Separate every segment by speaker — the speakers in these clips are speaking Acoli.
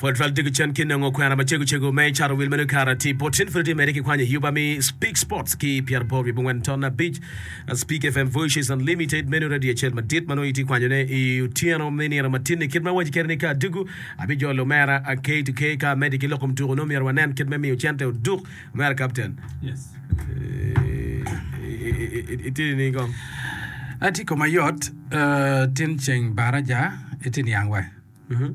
Speaker 1: Pwod twal diko cen ki nongo kwena macego cego me cato wil meno kara ti bot tin pud itye mere ki kwanyo yuba mi Speak Sports ki pyeraboro wiye bongwen ton abic Speak FM Voices Unlimited meno radio acel madit ma nongo itye kwanyo ne i otyeno me nino matin ni kit ma awaci kede ni ka adugu abijolo omera K to K ka amedi ki lok kom tuko nongo myero wanen kit me miyo cente oduk omera Captain
Speaker 2: Yes.
Speaker 1: Itye nining kong?
Speaker 2: Atye koma yot tin ceng baraja itye niang wa.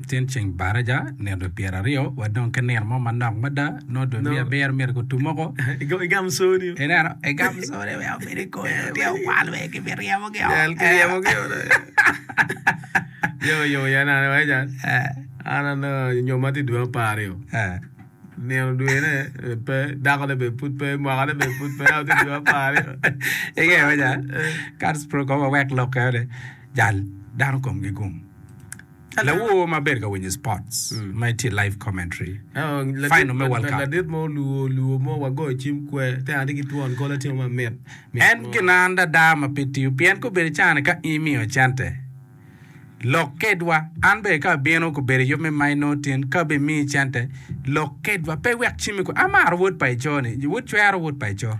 Speaker 2: Tin ceng baraja nino dwe pyeraryo wadong ki nino mo manok mada nongo dwe me abiro myero gutum woko.
Speaker 1: Igamo coni.
Speaker 2: Ineno igamo coni wek obed i kome tye okwal wek kibiryemogi o.
Speaker 1: Jal kiryemogi o. Yo yo ya nane wa jal. An anongo nyoma tye dwe aparyo. Nino dwene pe, dakone bene pud pe, mwakane bene pud pe, ento tye dwe aparyo.
Speaker 2: Ingeyo wa jal, Kats pro kong wawek lok eno ni jal dano komgi gum. Lawor ma bedo ka winyo sports ma itye live commentary final me World Cup.
Speaker 1: Ladit mo oluwo luwo mo wagoyo cim kwe te atye ki twon kol atingo ma mit.
Speaker 2: En gin an dada ma pe tiyo pien kobedo cani ka in imiyo cente lok kedwa an bene ka abino kobedo yub me minor tin ka be miyi cente lok kedwa pe wek cimi kwe amaro wod pa ico ni wod cwero wod pa ico.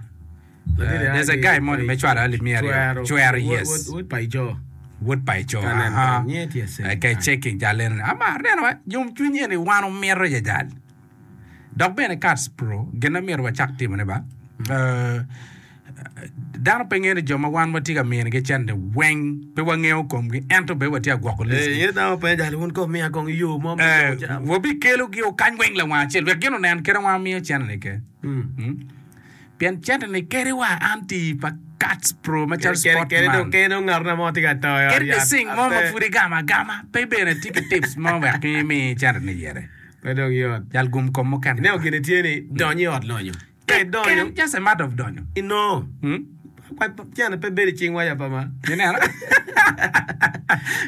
Speaker 2: There's a guy moni me cwalo alip miya aryo. Cwero yes.
Speaker 1: Wod pa ico.
Speaker 2: Wod pa ico. Aha. Ka checking jal eno ni. Amar neno wa yom cwiny eni wan omito ya jal. Dok bene Cats Pro gin ma myero wacak timo ne ba. Uh, dano pe ngeyo ni jo ma wan watye ka minigi cente weng pe wangeyo komgi ento bene watye ka gwoko list.
Speaker 1: Eh, dano pe jal wun ko miya kong yo mo.
Speaker 2: Eh, wabikelogi okany weng lawang acel wek gin onen kit ma wan wamiyo cente ni ke. Mm. Pien cente-ni kadi wa an ti pa Cats Pro macalo sport man.
Speaker 1: Kadi dong ngat mo tye ka to i ot
Speaker 2: Kadi
Speaker 1: yat.
Speaker 2: sing mo ma pud igamo agama pe bene tye ki tips mo wek imi cente-ni ire.
Speaker 1: Pe dong yot.
Speaker 2: Jal gum kom mukene.
Speaker 1: Ineno gin tye ni dony i ot lonyo. Ka idonyo.
Speaker 2: Just a matter of donyo.
Speaker 1: Inongo. Cente pe bedo i cingwa ya pa ma.
Speaker 2: Ineno?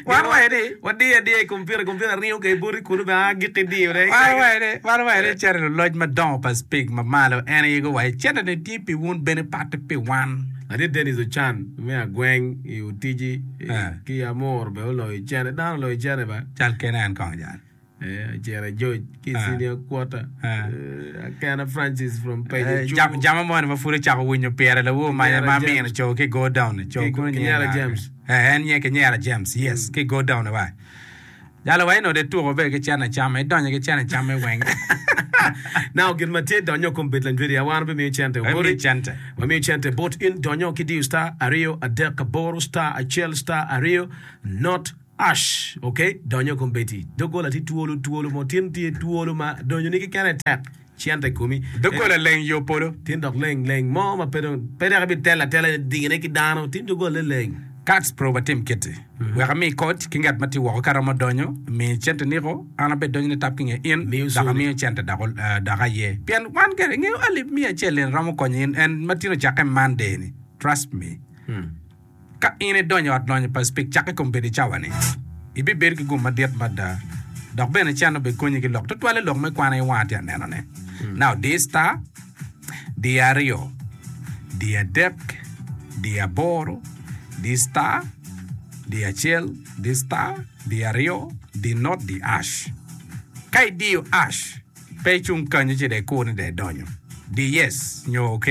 Speaker 2: Wan waye ni.
Speaker 1: Wadiyo adiya i kompiuta, kompiuta ringo kwede boti kunu bene a gik idiyone.
Speaker 2: Wan waye ni, wan waye ni cente luloc madongo pa Speke ma malo en aye guwaco cente ni tye pi wun bene patte pi wan.
Speaker 1: Ladit Dennis Ocan me Agweng i Otiji ki Amur bene oloyo cente. Dano oloyo cente ba.
Speaker 2: Cal kene en kong jal.
Speaker 1: Acito George ki i senior quarter. Akena Francis from Pejo Cubo.
Speaker 2: Jama moni ma pud ocako winyo pire lawor manya ma amino co ki go down co kono nyinge
Speaker 1: Kinyera
Speaker 2: nga?
Speaker 1: James.
Speaker 2: Eh, en nyinge Kinyera James, yes, ki go down wa. Jalo wa eno de tuko be ki cene came, idonyo ki cene came weng.
Speaker 1: Now gin ma tye donyo kom bed lanjwedi ya wan wabimiyo cente
Speaker 2: Wabimiyo
Speaker 1: boti.
Speaker 2: cente.
Speaker 1: Wamiyo cente bot in donyo ki diyo star aryo adek aboro star acel star aryo not Ash ok donyo kombeddi doggola tye twolo twolo mo tin tye twolo ma donyo ni kekene tek cente komi
Speaker 2: Doggola leng yo polo.
Speaker 1: Tin dok leng leng mo ma pe dong pe dok ibitelo atela dine ki dano tin doggola leng.
Speaker 2: Kats pro watim kiti wek ami koc ki ngat ma tye woko ka romo donyo mi cente niko an abed donyo nitap ki nge in dok amiyo cente dok dok aye pien wan gire ingeyo alip miya acel eni romo konyo in en ma tin ocakke Monday ni trust me. Ka in idonyo i ot lonyo pa Speke cakke kombeddi i cawa-ni, ibibedo ki gum madit mada dok bene can obikonyi ki lok, tutwalle lok me kwan aye wanga tye ka nenone. Now, di star, di aryo, di adek, di aboro, di star, di acel, di star, di aryo, di not, di ash. Ka idiyo ash, Pe icung kanyo ci dong ikur ni dong idonyo. Di yes nyo ok.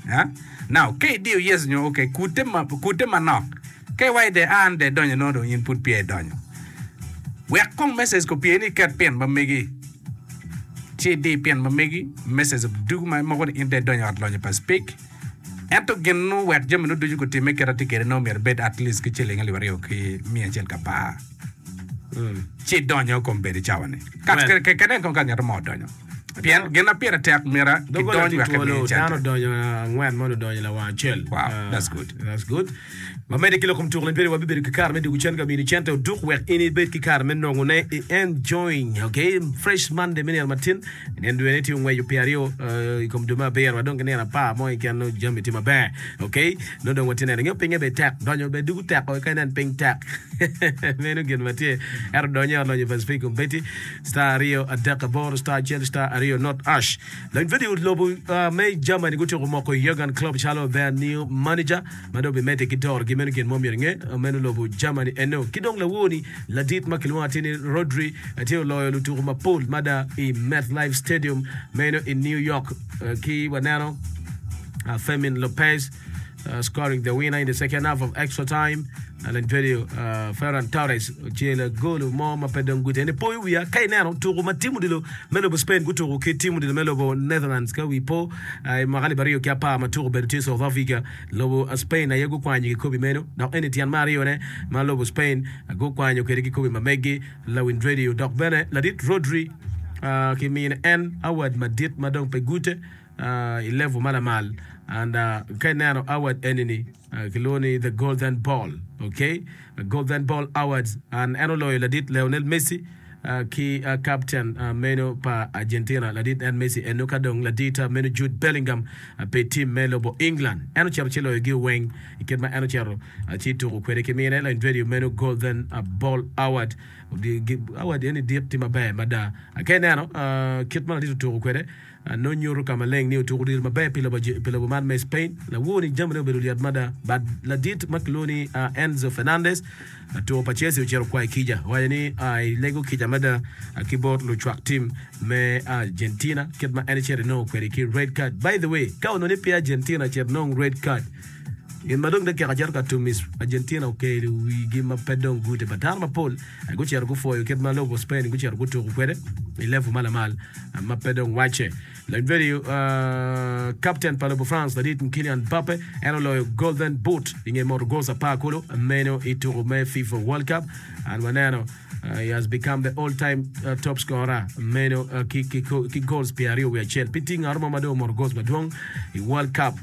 Speaker 2: Ha? Now, ka idiyo yes nyo ok, kutte ma, kutte manok. Ka iwaco dong an dong idonyo nongo dong in pud peya idonyo. Wek kong message kopye ni iket pin ma megi. Ci idi pin ma megi, message dugu ma moko ni in dong idonyo i ot lonyo pa Speke. Ento gin nu wek jami nu ducu gutimme kit atye kwede nongo myero ibed at least ki ciling alip aryo ki miya acel ki apar. ci idonyo kom bedo i cawa-ni.
Speaker 1: Well.
Speaker 2: Kenen kong ka ngat mo odonyo. Pien gin ma pire tek myero
Speaker 1: Doggola
Speaker 2: kidony
Speaker 1: tye
Speaker 2: wek
Speaker 1: twolo,
Speaker 2: emi
Speaker 1: dano
Speaker 2: cente.
Speaker 1: odonyo angwen moni odonyo lawang acel.
Speaker 2: Wow,
Speaker 1: Ah,
Speaker 2: that's good.
Speaker 1: That's good. Wamedde ki lok kom tuko lempere wabibedo ki kare me dwogo cen ka mini cente oduk wek in ibed ki kare me nongone i enjoying. Okay, fresh Monday me nino matin. Nino dwe-ni tye ongweco pyeraryo eh, i kom dwe me abiro wa dong ki nino apar mo keken nongo jami tye maber. Okay, nongo dong watye neno. Ingeyo pinye bene tek, donyo bene dugo tek o ka inen piny tek. Meno gin ma tye. Ento donyo i ot lonyo pa Speke Kombeddi, star aryo adek aboro star acel star aryo. aryo not ash. Lony vedio lobo me Germany gutyeko moko Jurgen Klopp calo their new manager ma dong bimedde ki dorogi. Meno gin mo myero inge meno lobo Germany eno. Ki dong lawoni ladit ma kilwongo atir ni Rodri tye oloyo lutuku mapol mada i MetLife Stadium meno i New York ki waneno Fermin Lopez scoring the winner in the second half of extra time. Lony vedio Ferran Torres ocelo gol mo ma pe dong gute. Eni poyo wiya ka ineno tuku ma tim odilo me lobo Spain gutuku ki tim odilo me lobo Netherlands ka wi po i mwaka 2010 ma tuku obedo tye South Africa. Lobo Spain aye gukwanyo kikobi meno dok eni tyen me aryone ma lobo Spain gukwanyo kwede kikobi ma meggi. Lawiny radio dok bene ladit Rodri kimine en award madit ma dong pe gute i level ma lamal and ka ineno award eni-ni Kilwongo ni The Golden Ball, ok, Golden Ball Awards, and en oloyo ladit Lionel Messi ki captain meno pa Argentina, ladit en Messi eno ka dong ladit meno Jude Bellingham pi team me lobo England. En ocito ci loyogi weng i kit ma en ocito ci tuko kwede ki mine lainvedio meno Golden Ball Award. Award eni dit tye maber mada. Ka ineno kit ma ladit otuko kwede, Nongo nyuto ka maleng ni otuko odilo maber pi lobo man me Spain. Lawor-ni jamine obedo lyet mada. But ladit ma kilwongo ni Enzo Fernandez, latuko pa Chelsea ocito kwayo kica. Owaco ni elego kica mada ki bot lucwak tim me Argentina kit ma en ecito enongo kwede ki red card. By the way, ka onongo ni pe Argentina ocito enong red card, gin ma dong dakika cito ka tum i Argentina okelo wigi ma pe dong gute. But dano mapol gucito gupwoyo kit ma lobo Spain gucito gutuko kwede i level ma lamal. ma pe dong wacce. Lanyvedio kapten pa lobo France ladit Kylian Mbappe en oloyo Golden Boot i nge moto goals apar kulu meno i tuko me FIFA World Cup and waneno he has become the all time top scorer meno ki goals 21. Pe tye ngat mo ma dong omoto goals madwong i World Cup.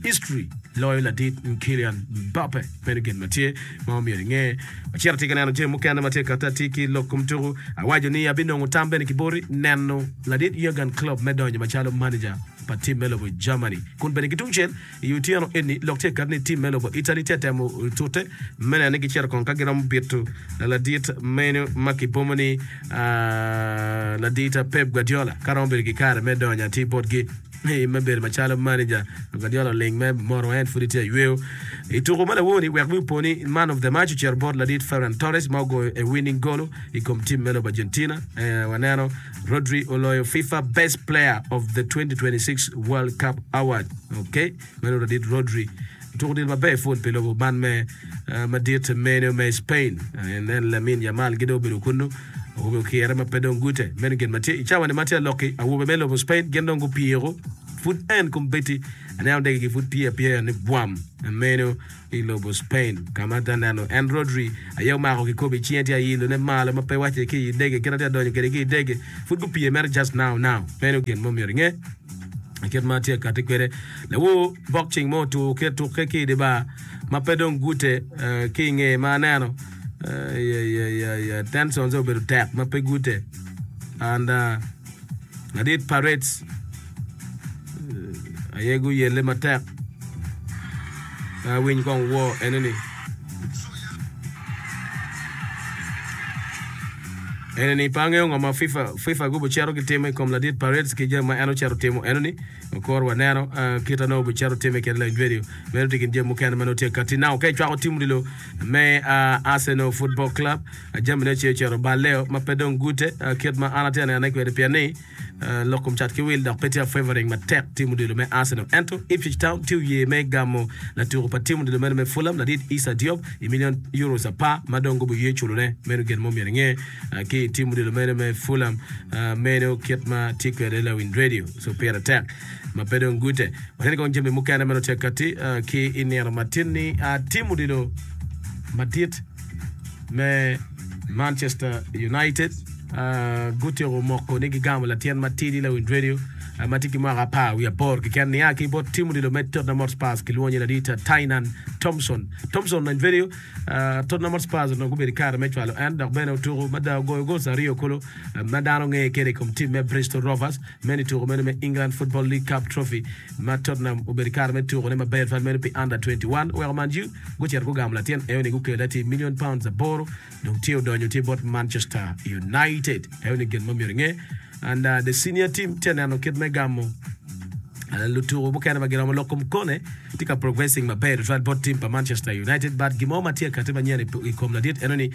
Speaker 1: History loyo ladit Kylian Mbappe. Meno gin ma tye ma omyero inge. Wacito atye ka neno jami mukene ma tye ka katte atir ki lok kom tuku. Awaco ni abinongo tam bene ki boti neno ladit Jurgen Klopp me donyo macalo manager pa tim me lobo Germany. Kun bene ki tungcel i otyeno eni lok tye ka katte ni tim me lobo Italy tye ka temo tute me neno ni gicito kong ka giromo bito ladit meno ma kibomo ni ladit Pep Guardiola ka romo bedo ki kare me donyo atir botgi. Me bedo macalo maneja, Guardiola oling me moro en pud etye ayweyo. I tuko ma lawor-ni, wek wi opo ni man of the match ocito bot ladit Ferran Torres ma ogoyo a winning goal i kom tim me lobo Argentina. Waneno Rodri oloyo FIFA Best Player of the 2026 World Cup Award. Okay, meno ladit Rodri. Tuko odilo maber pwod pi lobo man me madit meno me Spain. En Lamine Yamal gi dong obedo kunnu. Awobe okire ma pe dong gute. Meno gin ma tye i cawa-ni ma tye alokki. Awobe me lobo Spain gin dong gupyeko pud en kombeddi. Aneno degegi pud pye apyeya ni bwam meno i lobo Spain ka ma atye ka neno en Rodri aye omako kikopo i cinge tye ailone malo ma pe wacce ki i dege kit ma tye ka donyo kwede ki i dege pud gupye mere just now now. Meno gin ma omyero inge. I kit ma atye ka kati kwede, lawor bokcing mo otur ki atukke ki i dye bar ma pe dong gute ki i nge ma aneno tensions obedo tek ma pe gute and ladit parades aye guyelle matek awiny kong woo enoni. Eni-ni pe angeyo ngo ma FIFA, FIFA gubicito gitimo i kom ladit Paredes ki jami ma en ocito timo enoni. Kor waneno kit ma nongo obicito time kwede lany vedio. Meno tye kin jami mukene ma nongo tye ka kati. Now ka icwako tim odilo me Arsenal Football Club, jamine ce ocito baleo ma pe dong gute kit ma an atye ka nenone kwede pien ni Lok kom cat ki wil dok pe tye favoring matek tim odilo me Arsenal. Ento Ipswich Town tye oye me gamo latuko pa tim odilo meno me Fulham ladit Issa Diop i million euros apar ma dong gubiye culone. Meno gin mo myero inge ki i tim odilo meno me Fulham meno kit ma tye kwede lawiny radio. So pire tek ma pe dong gute. Waneno kong jami mukene meno tye kati ki i nino matin ni tim odilo madit me Manchester United gutyeko moko ni gigamo latin matidi lawiny radio ma tye ki mwaka apar wiye aboro keken nia ki bot tim odilo me Tottenham Hotspurs kilwongo ni ladit Tynan Thompson. Thompson lawiny radio Tottenham Hotspurs onongo gubedo ki kare me cwalo en dok bene otuko mada ogoyo goals aryo kulu ma dano ngeye kwede i kom tim me Bristol Rovers meno i tuko meno me England Football League Cup Trophy ma Tottenham obedo ki kare me tukone maber twal meno pi Under 21 oweko Man U gucito gugamo latin eo-ni gukele atir million pounds aboro dong tye odonyo tye bot Manchester United. Eo ni gin ma myero inge. And the senior team tye ka neno kit me gamo lutuku mukene ma giromo lok kom Kone tye ka progressing maber tutwal bot team pa Manchester United but gin mo ma tye ka kati manyen i kom ladit eno ni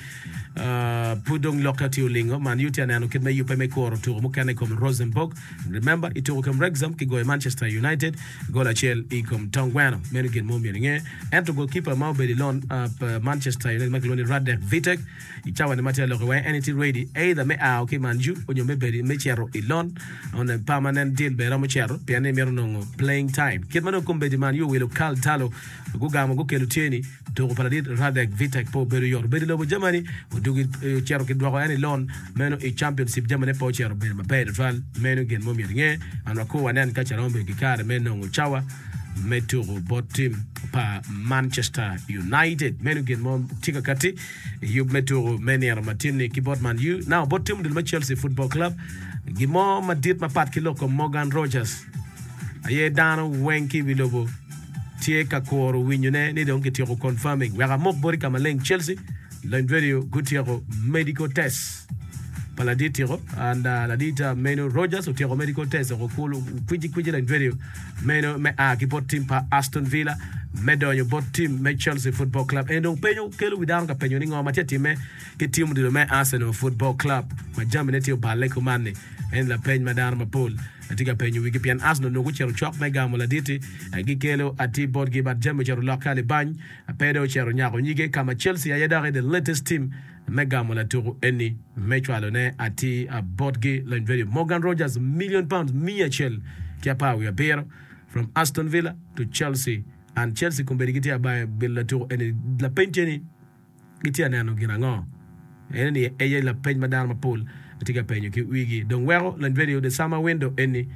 Speaker 1: pud dong lokke tye olingo Man U tye ka neno kit me yubbe me kuro tuku mukene i kom Rosenborg. Remember i tuku kom Wrexham kigoyo Manchester United gol acel i kom tong gweno. Meno gin mo myero inge. Ento goalkeeper ma obedo i lon pa Manchester United ma kilwongo ni Radek Vitek I cawa ni ma tye ka lok-ki weng en tye ready either me ao ki i Man U onyo me bedo me cito i loan on a permanent deal bene romo cito pien ni mito nongo playing time. Kit ma dong kombeddi Man U owilo Karl Darlow gugamo gukelo tye ni tuko pa ladit Radek Vitek pe obedo yot. Obedo i lobo Germany odugi ocito kidwoko en i loan meno i Championship jamine pe ocito obedo maber tutwal. Meno gin ma omyero inge and wakur wanen ka ce romo bedo ki kare me nongo cawa me tuko bot tim pa Manchester United. Meno gin mo tye ka kati. I yub me tuko me nino matin-ni ki bot Man U, now bot tim odilo me Chelsea Football Club, gin mo madit mapat ki lok kom Morgan Rogers aye dano weng ki i wi lobo tye ka kuro winyone ni dong kityeko confirming. Wek amok boti ka maleng Chelsea Lony Radio gutyeko medical test pa ladit tyeko and ladit meno Rogers otyeko medical test oko kulu kwici kwici Lony Radio meno me a ki bot tim pa Aston Villa me donyo bot tim me Chelsea Football Club. En dong penyo kelo wi dano ka penyo ni ngo ma tye ka timme ki tim odilo me Arsenal Football Club ma jamine tye oballe kuman-ni. En lapeny ma dano mapol tye ka penyo wigi pien Arsenal onongo gucito cok me gamo ladit-ti gikelo atir botgi but jami ocito olokke alibany pe dong ocito onyako nyige ka ma Chelsea aye doki the latest team me gamo latuku eni me cwalone atir botgi. Lony Radio Morgan Rogers million pounds 117 from Aston Villa to Chelsea and Chelsea kombeddi gitye abayo bilo latuku eni. Lapeny tye ni gitye ka neno gin ango? Eno ni aye lapeny ma dano mapol tye ka penyo ki wigi. Dong weko Lony Radio the summer window eni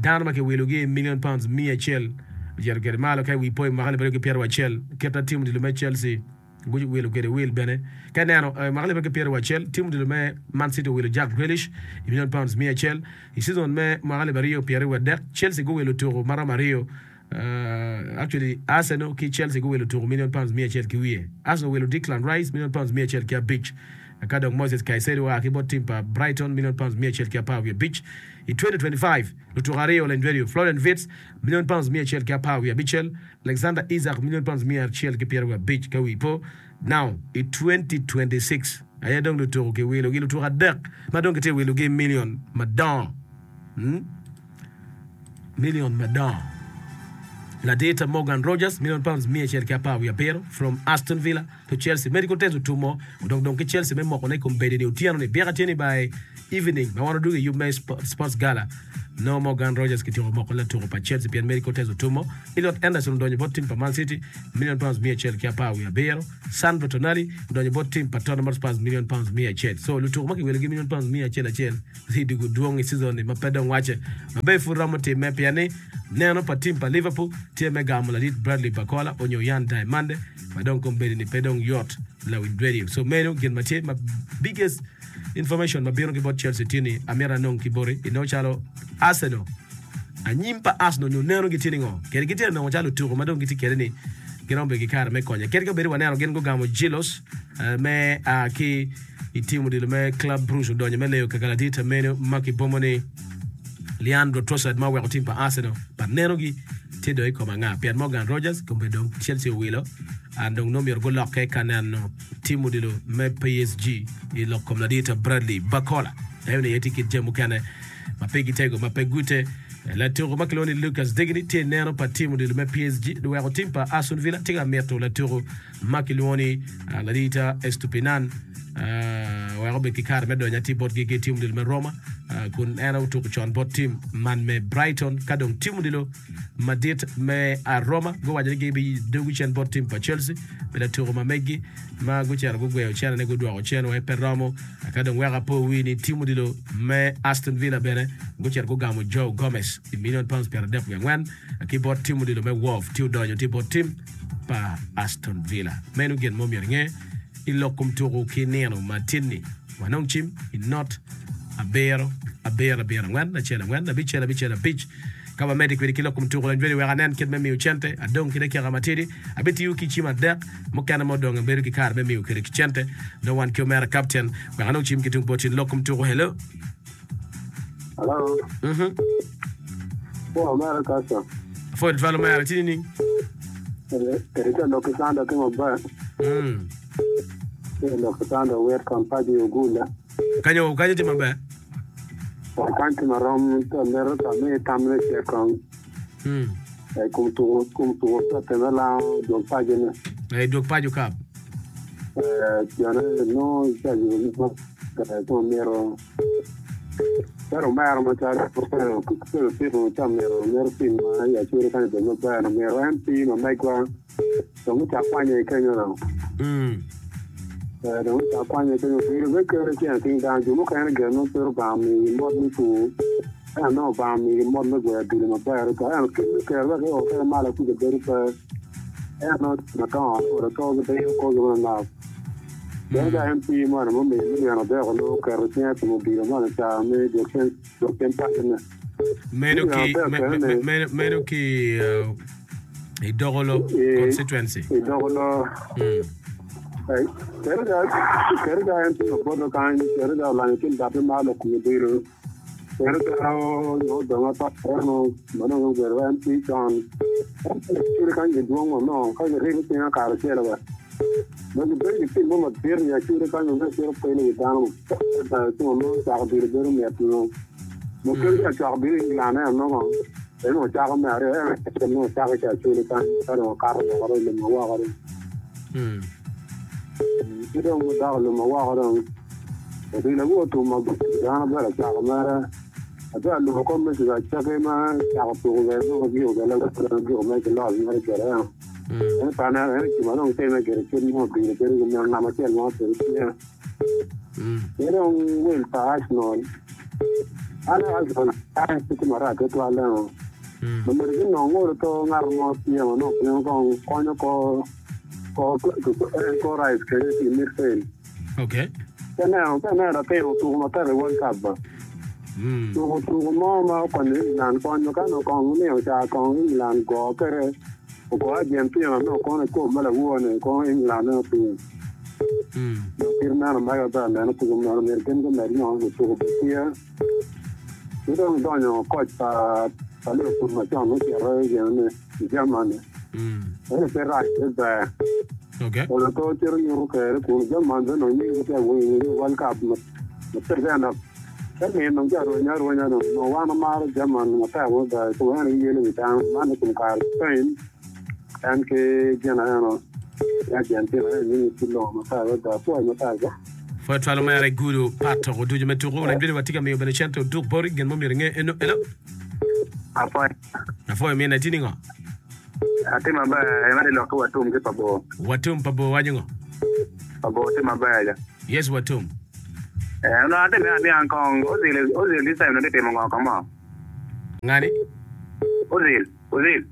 Speaker 1: dano ma kiwilogi i million pounds 100 ocito kwede malo ka i wi po i mwaka 2021 kit ma tim odilo me Chelsea Guwilo kwede wil bene. Ka ineno, i mwaka 2021, tim odilo me Man City owilo Jack Grealish i milion paunds 100. I cizon me mwaka 2023, Chelsea guwilo tuko maromo aryo, actually Arsenal ki Chelsea guwilo tuko milion paunds 100 ki wiye. Arsenal owilo Declan Rice milion paunds 105, ka dok Moises Caicedo oa ki bot tim pa Brighton milion paunds 115. I 2025, lutuko aryo oleny Florian Wirtz milion paunds 116, Alexander Isak milion pounds 175 ka wi po. Now i 2026 aye dong lutuku kiwilogi lutuku adek ma dong kitye wilogi milion madongo. Hmm? Milion madongo. Ladita Morgan Rogers milion pounds 117 from Aston Villa to Chelsea. Medical test otumo odong dong ki Chelsea me moko ne kom bedi ni otyeno ni byeka tye ni by evening ma wan odwogo i yub me Sports Gala nongo Morgan Rogers kityeko moko latuko pa Chelsea pien medical test otumo. Elliot Anderson odonyo bot tim pa Man City milion pounds 117. Sandro Tonali odonyo bot tim pa Tottenham Hotspurs milion pounds 100. So lutuko ma kiwilogi milion pounds 100 acel i dwogo dwong i season ni ma pe dong wacce maber pud romo timme pien ni neno pa tim pa Liverpool tye me gamo ladit Bradley Barcola onyo Yan Diamande ma dong kombeddi ni pe dong yot lawiny radio. So meno gin ma tye ma biggest information ma bino ki bot Chelsea tye ni amito anong ki boti inongo calo Arsenal anyim pa Arsenal nyo neno gitye ni ngo kede gitye ka nongo calo lutuku ma dong gitye kede ni giromo bedo ki kare me konye kadi ka bedi waneno gin gugamo Gilos me a ki i tim odilo me Club Brugge odonyo me leyo kaka ladit meno ma kibomo ni Leandro Trossard ma oweko tim pa Arsenal pa nenogi tye dong i kom anga pien Morgan Rogers kome dong Chelsea owilo and dong nongo myero gulokke ka neno tim odilo me PSG i lok kom ladit Bradley Barcola. Eno ni aye tye kit jami mukene ma pe gitego ma pe gute. Latuko ma kilwongo ni Lucas Digne tye i neno pa tim odilo me PSG weko tim pa Aston Villa tye ka mito latuko ma kilwongo ni ladit Estupinan wek obed ki kare me donyo atir botgi ki tim odilo me Roma kun en otuko con bot tim man me Brighton ka dong tim odilo madit me a Roma guwaco ni gibidogo cen bot tim pa Chelsea pi latuko ma meggi ma gucito gugweyo cenene gudwoko cen wai pe romo. Ka dong wek apo wi ni tim odilo me Aston Villa bene gucito gugamo Joe Gomez i milion pounds 34 ki bot tim odilo me Wolves ci odonyo tye bot tim pa Aston Villa. Meno gin mo myero inge i lok kom tuku ki nino ma tin-ni. Wanong cim i not abiro abiro abiro angwen acel angwen abicel abicel abic ka wamedde kwede ki lok kom tuku lony wek anen kit me miyo cente adong ki dakika matidi abitiyo ki cim adek mukene ma odong abedo ki kare me miyo kwede ki cente dong wan ki omera kapten wek anong cim ki tung bot in lok kom tuku hello.
Speaker 3: Hello.
Speaker 1: Mhm.
Speaker 3: Pwo omera Castro.
Speaker 1: Apwoyo tutwal omera, itye nining?
Speaker 3: Eri ca lok ki Sandra ki maber.
Speaker 1: Mm.
Speaker 3: Tye lok ki Sandra wit kon paco i Ogula.
Speaker 1: Kanyo kanyo tye maber.
Speaker 3: Kany tye marom to mito ka mi tam me cek kong.
Speaker 1: Mm.
Speaker 3: I kom tuko kom tuko tote me lango dwog paco ne.
Speaker 1: Eh, dwog paco kap.
Speaker 3: Eh, jone nongo ca yubo ni eh, ko mito calo omera macalo kelo piko ca mito mito pim ma i acwele kany obed maber no mito en pi ma megwa dong ocak kwanye i kenyo no.
Speaker 1: Mm.
Speaker 3: Eh, dong ocak kwanye i kenyo bedo be kelo ceng cing dano jo mukene gire nongo pe Rubanga omiyogi mot me pur ento nongo Rubanga omiyogi mot me gweyo odilo maber adada ento kit me kero wek io kede malo kuca bedo pe ento nongo madongo olo to gibedo korgi manok. Pien ka en pii moni mumiyo million adek onongo oketo cinge i kom odilo moni ca me dwok cen dwok cen pacone.
Speaker 1: Meno
Speaker 3: Million
Speaker 1: ki
Speaker 3: adek
Speaker 1: me,
Speaker 3: kene
Speaker 1: me,
Speaker 3: ni
Speaker 1: meno, meno ki uh, i Dokolo
Speaker 3: i
Speaker 1: constituency.
Speaker 3: i Dokolo.
Speaker 1: Mm.
Speaker 3: Eh, Keri ga keri ga en tye oboto kany, keri ga olanyo kin batte ma lok kom odilo. Keri ga odong ata eno ma dong obedo MP con. Ento kany gidwong wa no ka giribo cinga karacelo wa. Ma gibedo ki tim mo madit i acwele kany ma mere cito pelo wi dano matek ci onongo cako dilo bedo mit nyo ma kadi ka cwako bino i England en onongo en onongo cako me aryo en acel nongo cako ki acwele kany ka dong okato woko dong lumo woko dong ki dong gudoko lumo woko dong odilo aye otum maber dano bedo acako mere abe alubo kor message acaki ma cako tuko bene nongo giko bene giko mere ki loss mere gire eno. En pe aneno en gin ma dong timme gire kit mo obino bedo ki meno namba acel mo obedo tye. Ki dong wel pa Arsenal. An Arsenal an pe tye marac tutwal eno. Omyero ginong ngolo to ngat mo tye ma nongo piny kong konyo ko ko en ko Rice kenyo i midfield.
Speaker 1: Okay.
Speaker 3: Ka ineno ka ineno latin otuko matek i World Cup ba. Tuko tuko mo ma okonyo England konyo ka nongo kong nino ca kong England go kwede ogo Argentina nongo kono ikobo ma lawor ni kono England nongo piny. Dok kit meno mega ber neno tuko meno myero gin gumed nongo lutuko bed tye. Ki dong donyo koc pa pa Liverpool macon ocito i gin ni i Germany. Ento pe rac pe ber.
Speaker 1: Okay.
Speaker 3: Olo to cito nyuto kere kun German bene onongo nying tye awinyo i World Cup ma pe dok ka nino dong tye arwenya arwenya dong onongo wan wamaro German matek mada i kom en giyelo wi dano man i kom kare Spain en ki gin eno ki Argentina en nyingi tye longo matek adada apwoyo matek ba.
Speaker 1: Pwod twalo mere gudo pat toko ducu me tuko wek bedo watye ka miyo bene cente oduk boti gin mo myero inge eno eno.
Speaker 4: Apwoyo.
Speaker 1: Apwoyo mine itye ningo?
Speaker 4: Atye maber, imito ilok ki Watum ki Pabor.
Speaker 1: Watum Pabor waco ngo?
Speaker 4: Pabor tye maber ja.
Speaker 1: Yes Watum.
Speaker 4: Eh, onongo atye me aniang kong Ozil, Ozil this time onongo tye timo ngo ka mo?
Speaker 1: Ngani?
Speaker 4: Ozil, Ozil.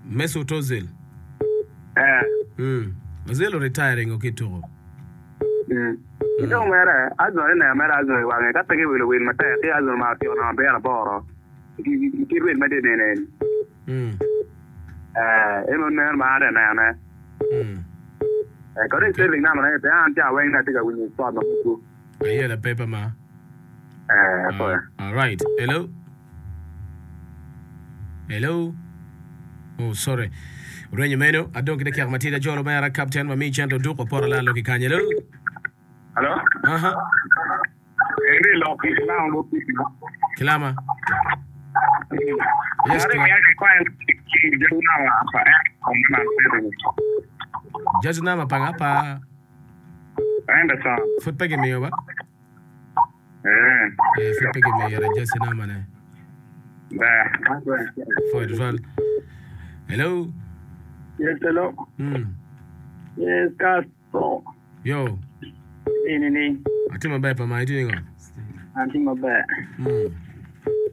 Speaker 1: Mesut Ozil.
Speaker 4: Eh.
Speaker 1: Mm. Ozil o retiring o ki tuko.
Speaker 4: Mm. Ki dong mere, Arsenal ineno mere Arsenal i wange ka pe giwilo wil matek ki Arsenal ma otyeko nongo abiro aboro i kit wil ma tye nene eni. Eh, en onen ma an atye ka nenone. Eh, kadi Sterling namane pe an ca weng ni atye ka winyo sport ma mego.
Speaker 1: Ayela paper ma.
Speaker 4: Eh, apoya.
Speaker 1: All right. Hello. Hello. Oh, sorry. Rwenyo meno, adong ki dakika matidi ajolo mera captain ma mi cente oduk oporo lalo ki kany. Hello.
Speaker 4: Hello.
Speaker 1: Aha.
Speaker 4: Eni lok ki kilama mo piki.
Speaker 1: Kilama. Yes, Judge nama pa nga pa.
Speaker 4: Anderson.
Speaker 1: Pud pe gimiyo ba?
Speaker 4: Eh.
Speaker 1: Eh, pud pe gimiyo yere jersey nama ne.
Speaker 4: Ber.
Speaker 1: Pwoyo tutwal. Hello.
Speaker 5: Yes, hello.
Speaker 1: Mm.
Speaker 5: Yes, Castro.
Speaker 1: Yo.
Speaker 5: Ini ni.
Speaker 1: Atye maber pa ma itye ningo?
Speaker 5: Atye maber.
Speaker 1: Mm.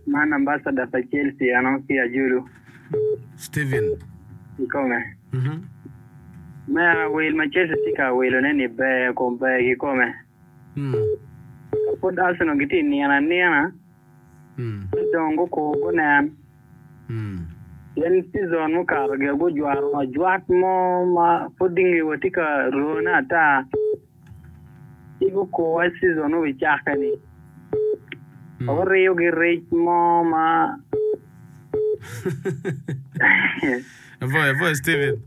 Speaker 5: Man ambassador pa Chelsea ano ki Ajulu.
Speaker 1: Steven.
Speaker 5: Kikome.
Speaker 1: Mhm.
Speaker 5: Me awil ma Chelsea tye ka wilone ni ber kom ber kikome.
Speaker 1: Mm.
Speaker 5: Ka pud Arsenal gitye i nino anina,
Speaker 1: Mm.
Speaker 5: ci dong gukur gunen.
Speaker 1: Mm.
Speaker 5: Pien season mukato gire gujwato ajwat mo ma pud ngewa tye ka rone ata, ci gukur wa season obicakke-ni. Oriyo gi rec mo ma.
Speaker 1: Apwoyo, apwoyo Stephen.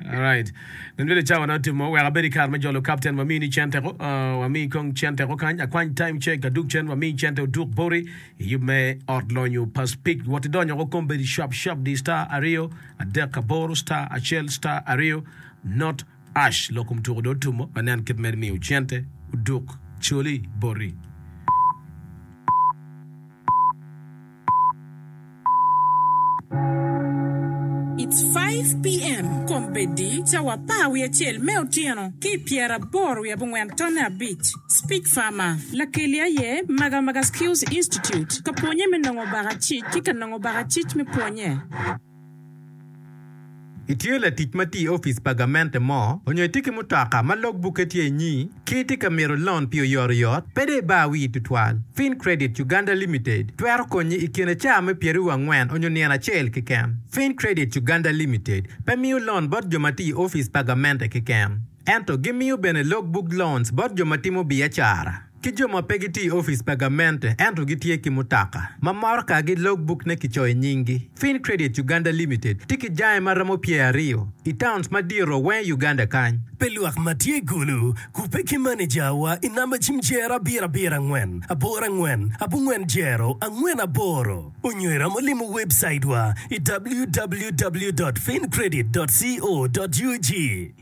Speaker 1: Alright. Nen bedo cawa na otimo wek abed i kare me jolo captain wamini ni cente ko. Uh, wami kong cente ko kany. Akwany time check aduk cen wami cente oduk boti i yub me ot lonyo pa Speak. Wot idonyo ko kombeddi shap shap di star aryo adek aboro star acel star aryo not Ash lok kom tuko dong otumo wanen kit me miyo cente oduk coli boti.
Speaker 6: It's 5 PM, Kombeddi, cawa apar wiye acel me otyeno ki i pyeraboro wiye abongwen tonne abic. Speech Farmer, Lakeli aye Magamaga Skills Institute, ka pwonye me nongo bakacic ki ka nongo bakacic me pwonye.
Speaker 7: Itye latic ma tye i opic pa gamente mo, onyo itye ki mutoka ma log bukke tye inyi, ki itye ka mito lon pi oyotoyot, pe dong ibar wii tutwal. Fincredit Uganda Limited twero konyi i kine caa me pyeraryo angwen onyo nino acel keken. Fincredit Uganda Limited pe miyo lon bot jo ma tye i opic pa gamente keken, ento gimiyo bene log book loans bot jo ma timo biacara. Ki jo ma pe gitye i opic pa gamente ento gitye ki mutoka ma morokagi logbuk-ne kicoyo nyinggi. Fincredit Uganda Limited tye ki jange ma romo pyeraryo i towns madito weng i Uganda kany.
Speaker 8: Pi lwak ma tye i Gulu, kubbe ki manejawa i namba cim jero abiro abiro angwen aboro angwen abongwen jero angwen aboro onyo iromo limo webcaitwa i www dot fincredit dot co dot ug.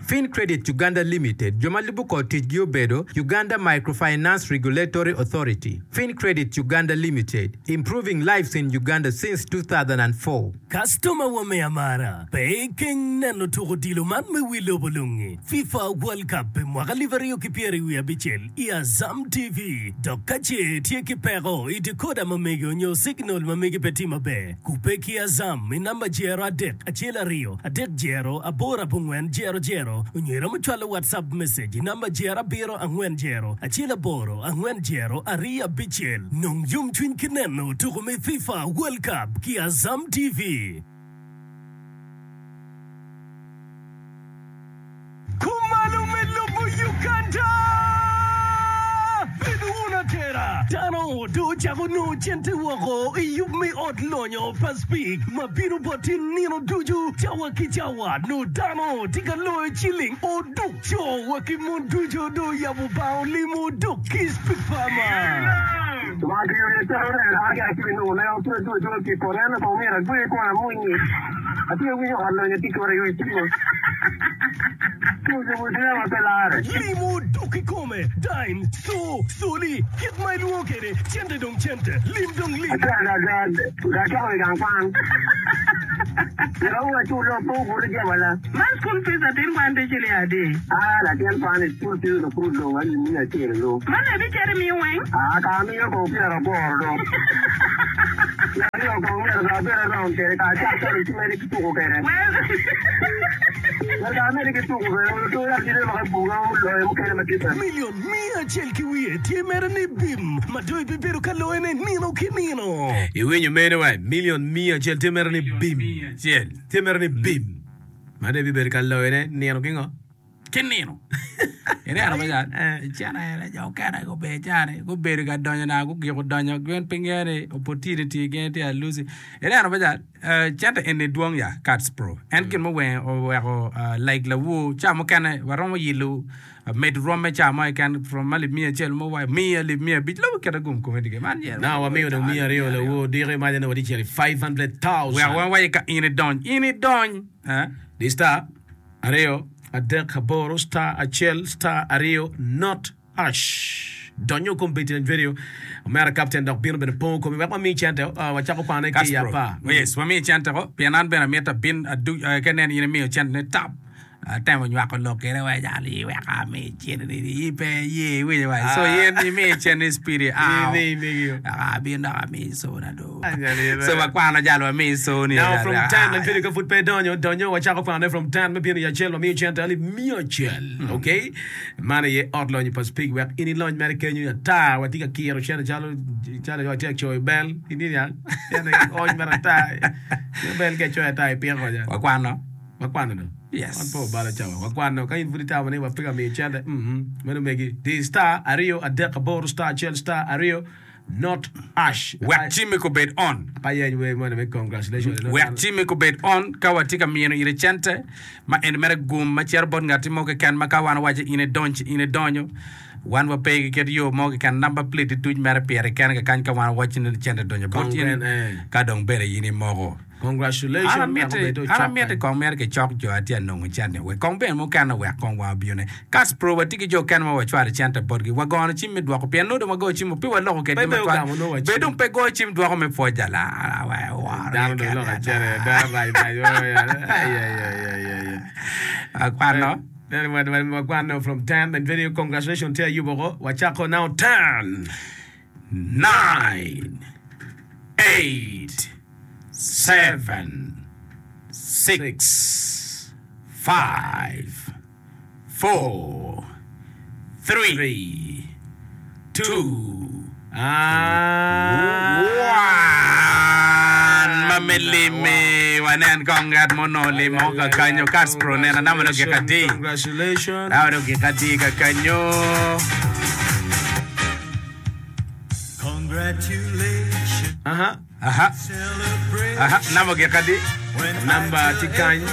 Speaker 7: Fincredit Uganda Limited, jo ma lubo kor ticgi obedo, Uganda Microfinance Regulatory Authority, Fincredit Uganda Limited, improving lives in Uganda since 2004.
Speaker 8: Kastoma wa me amara, pe ikeng neno tuko odilo man me wi lobo lungi, FIFA World Cup pi mwaka alip aryo ki pyeri wiye abicel i Azam TV. Dok ka ce itye ki peko i decoder ma megi onyo signal ma megi pe tye maber, kubbe ki Azam i namba jero adek acel aryo adek jero aboro abongwen jero jero onyo iromo cwalo WhatsApp message i namba jero abiro angwen jero acel aboro angwen jero aryo abicel. Nong yomcwiny ki neno tuko me FIFA World Cup ki Azam TV. Kumalo me lobo Uganda! Bed wun atera! Dano dong ocako nongo cente woko i yub me ot lonyo pa Speke ma bino boti nino ducu cawa ki cawa. Nongo dano tye ka loyo ciling oduk. Co wa ki mon ducu dong oyabo bang olimo oduk ki Speke Farmer. Limo dok kikome, dime, co, coli, kit ma ilwongo kwede, cente dong cente, lim dong lim. Milion miya acel ki wiye tye mere ni bim ma dong ibibedo ka loyone nino ki nino.
Speaker 1: Iwinyo meno wai? Milion miya acel tye mere ni bim. Tye mere ni bim ma dong ibibedo ka loyone nino ki ngo?
Speaker 2: Ki nino. Ineno me cal? Icen aye jo okene gubedo cani gubedo ka donyo na gugiko donyo gin pe ngeyo ni opportunity gin tye alusi. Ineno me cal? Cente eni dwong ya Kats Pro. En gin muweng oweko like lawor ca mukene waromo yilo medo rwom me ca mo keken from alip miya acel mo wa miya alip miya abic lobo kite gum kome dige man yero.
Speaker 1: Now wamiyo dong miya aryo lawor diki maca nongo watye cito i 500,000.
Speaker 2: Wek wan waye ka in idony in idony.
Speaker 1: Di star aryo adek aboro star acel star aryo not hash. Donyo kombeddi en vedio omera kapten dok bino bene pongo komi wek wami cente wacako kwane ki i apar.
Speaker 2: Yes, wami cente ko pien an bene amito abin aduc ka inen in imiyo cente ni tap atemo nywako lok kede wa jal i wek ami cente ni i pe ye iwinyo wa so in imi cente ni speedy aw abin dok ami sona do so wakwano jal wami soni
Speaker 1: Now from 10 me bedo ka pud pe idonyo donyo wacako kwanone from 10 me bino i acel wamiyo cente alip miya acel okay Man aye ot lonyo pa Speke wek in ilony mere kenyo ata. Watye ka kiro cente calo calo watye ka coyo bel. Iniang? Cente ony mere ata. Bel ka icoyo ata ipiko oja.
Speaker 2: Wakwano.
Speaker 1: Wakwano do.
Speaker 2: Yes.
Speaker 1: Wan pe wabalo cawa. Wakwano. Ka in pud itamo ni wape ka miyo cente, mhm, meno megi. Di star aryo adek aboro star acel star aryo. Not ash.
Speaker 2: Wek cimmi kubed on.
Speaker 1: Pe ayeny wer moni me congratulations.
Speaker 2: Wek cimmi kubed on ka watye ka mino ire cente ma en mere gum ma cito bot ngatti mo keken ma ka wan owaco in idonc in idonyo wan wape ki kit yo mo keken number plate tuc mere pire kene kakany ka wan owaco ni cente donyo bot in ka dong bene in imoko.
Speaker 1: Congratulations
Speaker 2: An amiti
Speaker 1: wek obed
Speaker 2: an
Speaker 1: ocok
Speaker 2: amiti
Speaker 1: kany.
Speaker 2: kong mere kicok jo atye anongo cente wek kong bene mukene wek kong wa obione. Kaspro watye ki jo okene ma wacwalo cente botgi wagono cim me dwoko pien nongo dong wagoyo cim pe waloko
Speaker 1: Pe
Speaker 2: kedgi
Speaker 1: be
Speaker 2: matwal
Speaker 1: ogamo nongo wa
Speaker 2: be
Speaker 1: cim.
Speaker 2: dong pe goyo cim dwoko me pwoc jal aa wee woro
Speaker 1: Dano dong
Speaker 2: keken
Speaker 1: loko
Speaker 2: ada.
Speaker 1: acel dano rac rac ayayayayaya.
Speaker 2: Akwano.
Speaker 1: Then wa- wa- wakwano from 10 and very congratulations tye ayubo ko wacako now 10
Speaker 2: 9 8 7 6 5 4 3 2 1 ma me limi wanen kong ngat mo onongo limo ka kanyo Castro nena nama nongo gik adi
Speaker 1: Congratulations.
Speaker 2: nama nongo gik adi ka kanyo
Speaker 1: Aha.
Speaker 2: Aha. Aha, namba ogik adi?
Speaker 1: Namba tye kany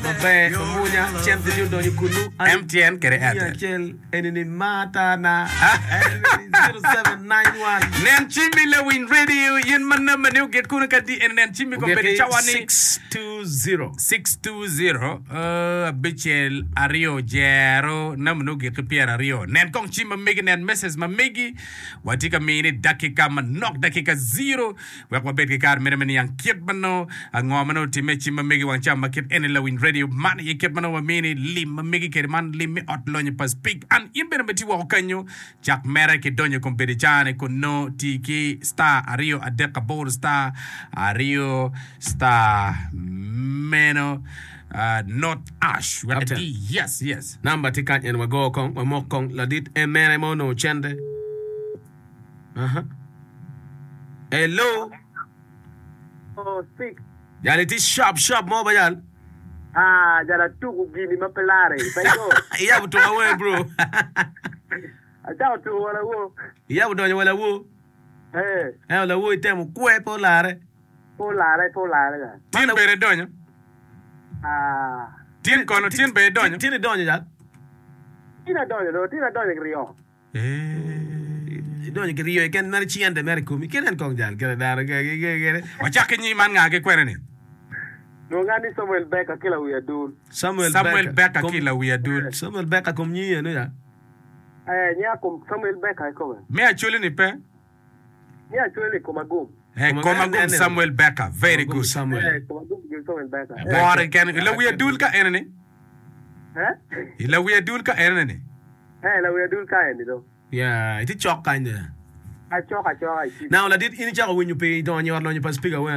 Speaker 1: maber mamwonya cente tye odonyo kunu.
Speaker 2: MTN kede
Speaker 1: Miya
Speaker 2: Airtel.
Speaker 1: acel eni ni mata na eni ni 0791.
Speaker 2: Nen cimmi lawiny radio in ma namba ni ogik kunu ka di eni nen cimmi kombeddi
Speaker 1: Ogik
Speaker 2: cawa ni
Speaker 1: 620.
Speaker 2: 620 uh, abicel aryo jero namba ni ogik ki 20. Nen kong cim ma megi nen message ma megi Watye ka mini dakika manok, dakika ziro, wek wabed ki kare mere me niang kit ma nongo ango ma nongo otimme i cim ma megi wang cawa ma kit eni lawiny radio man aye kit ma nongo wamini lim ma megi kede man lim me ot lonyo pa Speke an in bene ma itye woko kanyo cak mere ki donyo i kom bedo i caa-ni kun nongo ti ki star aryo adek aboro star aryo star meno not ash wek
Speaker 1: Captain.
Speaker 2: iti yes yes.
Speaker 1: Namba tye kany en wago kong wamok kong ladit en mene ma onongo cente. Aha. Hello.
Speaker 4: Oh, speak.
Speaker 1: Jal itye sharp sharp mo ba jal.
Speaker 4: Ah, jal atuku gini ma pe lare. Pe go.
Speaker 1: Iyabo tuko awer bro.
Speaker 4: Acako tuko wala wo.
Speaker 1: Iyabo donyo wala wo.
Speaker 4: Eh.
Speaker 1: Ento lawo itemo kwe pe olare.
Speaker 4: Pe olare, pe olare jal.
Speaker 2: Tin bene idonyo.
Speaker 4: Ah.
Speaker 2: Tin kono, tin bene idonyo.
Speaker 1: Tin idonyo jal.
Speaker 4: Tin adonyo do, tin adonyo ki ryo.
Speaker 1: Idonyo ki ryo keken mere cente mere i komi. Kinen kong jal kene dano kene.
Speaker 2: Wacak ki nying man nga ki kwene ni?
Speaker 4: Lwonga ni Samuel Becker ki lawi adul.
Speaker 1: Samuel
Speaker 2: Samuel
Speaker 1: Becker.
Speaker 2: Becker ki lawi adul.
Speaker 1: Samuel Becker kom nyingi eno ya.
Speaker 4: Eh, nyinga kom Samuel Becker kikome.
Speaker 2: Me acholi ni pe?
Speaker 4: Ni acholi kom agum.
Speaker 2: Eh, kom agum Samuel Becker. Very good.
Speaker 1: Samuel.
Speaker 4: Eh, kom agum gin Samuel Becker. Eh.
Speaker 2: Wore kene. I lawi adul ka ene ni?
Speaker 4: Eh?
Speaker 2: I lawi adul ka ene ni?
Speaker 4: Eh, lawi adul ka eni do.
Speaker 1: Yeah, itye cok kany de.
Speaker 4: Acok acoka i
Speaker 1: Now ladit in icako winyo pi donyo i ot lonyo pa speaker wen?